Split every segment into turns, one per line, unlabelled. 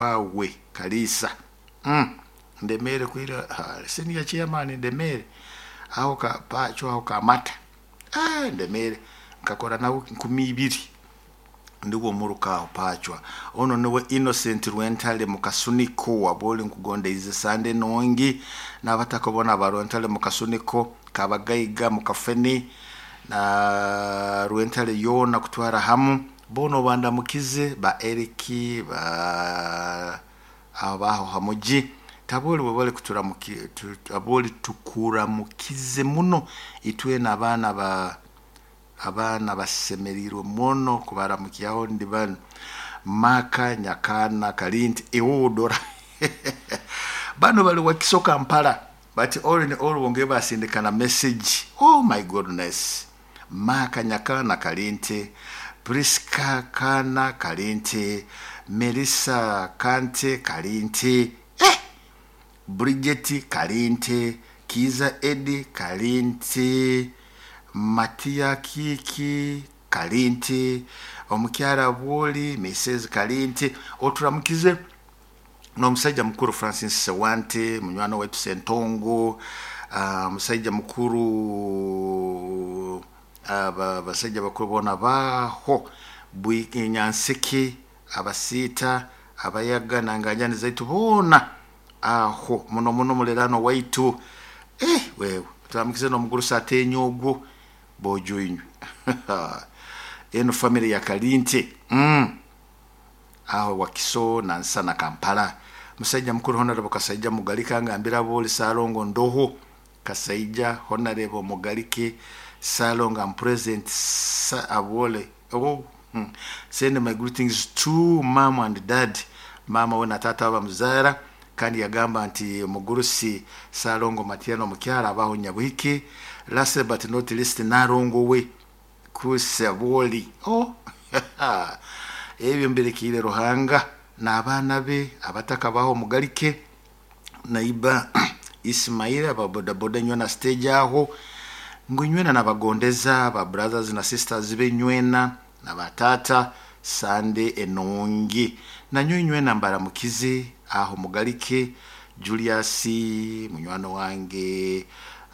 Wawe Kalisa Ndemere kwira senior chairman Ndemere aho ka pacho aho kamata Ndemere nkakora nawe 2000 ndigwo muruka aho pachwa ono niwe Innocent Rwentale mukasuniko waboli nkugondeize sande nongi n'abatakobona ba Rwentale mukasuniko kabagaiga mukafeni na Rwentale yona kutwara hamu bono bandamukize ba Eriki ba abaho hamuji taboli webale kuturamuki taboli tukuramukize muno itwe n'abaana ba abaana basemereirwe muno kubaramukyaho ndi bano maka nyakana kalinti ewodora bano bali wakiso Kampala but all in all bonge basindikana message. Oh my goodness, maka nyakana kalinti, Priska kana kalinti, Melissa kante kalinti, Bridget kalinti, Kiza Edi kalinti, Matia Kiki kalinti, omukyala Bwoli Mrs kalinti. Oturamukize n'omusajja mukuru Francis Sewante munywani waitu Sentongo, musajja mukuru abasajja bakuru bona baho Nyanseke abasiita abayaga nanganjani zaitu bona aho muno muno mulerano waitu wewe turamukize n'omugurusi atenya ogwo bojo inywe eno family ya Kalinte aho Wakiso Nansana Kampala. Musajja mukuru Honorable Kasaija Mugalika ngambira boli Salongo ndoho Kasaija Honorable Mugalike Salongo am present abole oh Send my greetings to mom and dad, mama we na tata bamuzara kandi yagamba nti mugurusi Salongo Matiano mukyala abaho Nyabuhike. Last but not least Narongo we kusaboli oh ebyo mberekire Ruhanga n'abaana be abatakabaho Mugalike naiba Ismail ababodaboda nywena stage aho ngu nywena nabagondeza ba brothers na sisters be nywena na batata sande enongi nanyo nywena mbaramukize aho Mugalike Julius munywano wange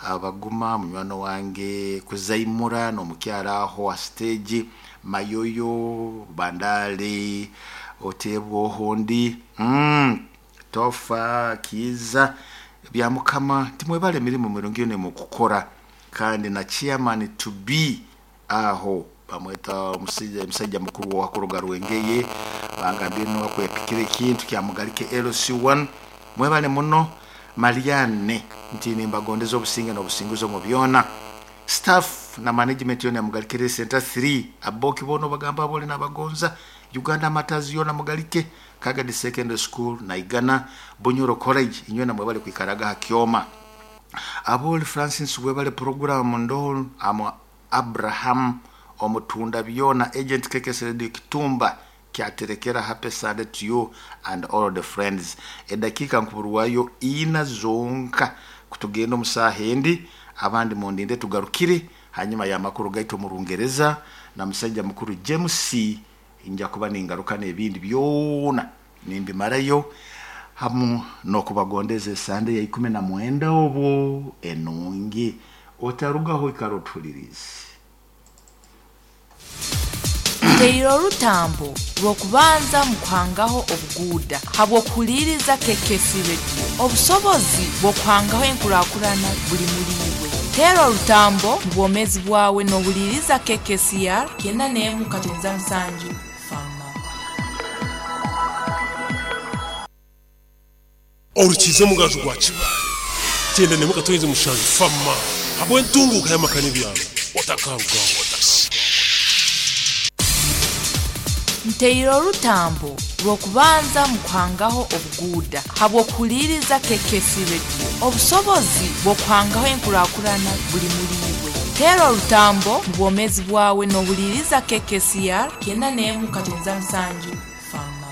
abaguma munywano wange kuzaimura n'omukyala aho a stage Mayoyo Bandale otebwo hondi Tofa Kiza bya Mukama timwebale emirimu mirungi ne mukukora kandi na chairman to be aho bamweta omusajja mukuru wa kuruga Rwengeye bangambye no kwepikira ekintu kya Mugalike LC1 mwebale muno Marianne nti nimbagondeza obusinge n'obusinguzo mu byona staff na management yona Mugalike Center 3 aboki bono bagamba bole n'abagonza Uganda Matters yona Mugalike Kagadi Secondary School na Igana Bunyoro College inywe na mwebale kwikaraga hakioma aboli Francis webale program ndo amo Abraham omutunda byona agent KKS Radio Kitumba kyaterekera happy Sunday to you and all the friends. Edakika nkuburwayo ina zonka kutugenda omusaha endi abandi mundinde tugarukire hanyuma ya makuru gaito mu Rungereza na musajja mukuru James nja kuba ningaruka n'ebindi byona nimbimarayo hamu n'okubagondeza esande ya 19 obwo enungi otarugaho ikarotulirizi.
Nteire orutambo rw'okubanza mu kuhangaho obuguuda habw'okuhuliriza KKC Radio. Obusobozi bw'okuhangaho enkurakurana buli muri iwe. Teera orutambo mu bwomeezi bwawe n'ohuliriza KKCR 91.7 Fama.
Orukize mugaju gwa Kibaale 91.7 Fama habw'entunguka y'amaka n'ebyaro otakarugaho.
Nteire orutambo rw'okubanza mu kuhangaho obuguuda habw'okuhuliriza KKC Radio. Obusobozi bw'okuhangaho enkurakurana buli muri iwe. Teera orutambo mu bwomeezi bwawe n'ohuliriza KKCR 91.7